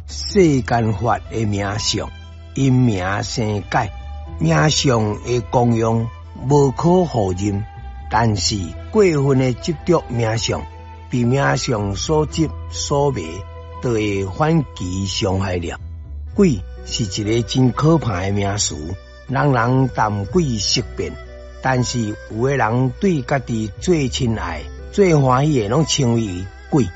世間法的名相，因名生解，名相的功用無可否認，但是過分的執著名相，被名相所執所迷，就會反其傷害了。鬼是一个真可怕的名詞，人人談鬼色變，但是有的人對家己最親愛、最歡喜的，攏稱為鬼。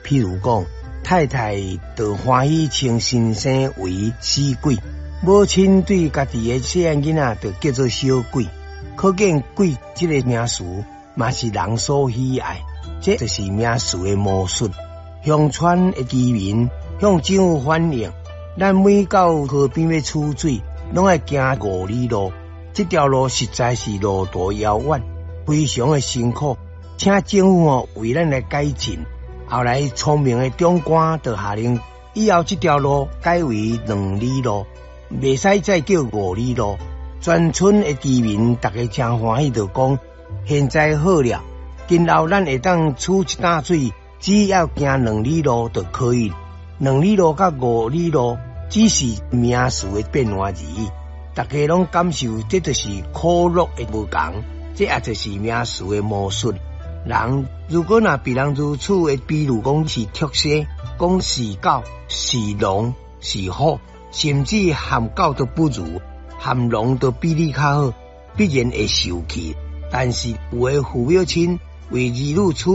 譬如講，太太就歡喜稱先生為死鬼，母親對家己的細漢囡仔就叫做小鬼。可見鬼這个名詞嘛是人所喜愛，這就是名詞的魔術。鄉村的居民向政府反映，咱每到河邊欲取水，攏愛行五里路，這條路實在是路途遙遠，非常的辛苦，請政府哦為咱來改進。後來聰明的長官就下令，以後這條路改為兩里路，袂使再叫五里路。全村的居民逐家誠歡喜，就講現在好了，今後咱會當取一擔水，只要行兩里路就可以。兩里路佮五里路只是名詞的變換而已。逐家攏感受，這就是苦樂的無仝，這也就是名詞的魔術。人如果若被人如此的比喻講是畜生，講是狗、是龍、是虎，甚至含狗都不如，含龍都比你較好，必然會受氣。但是有的父母親為兒女取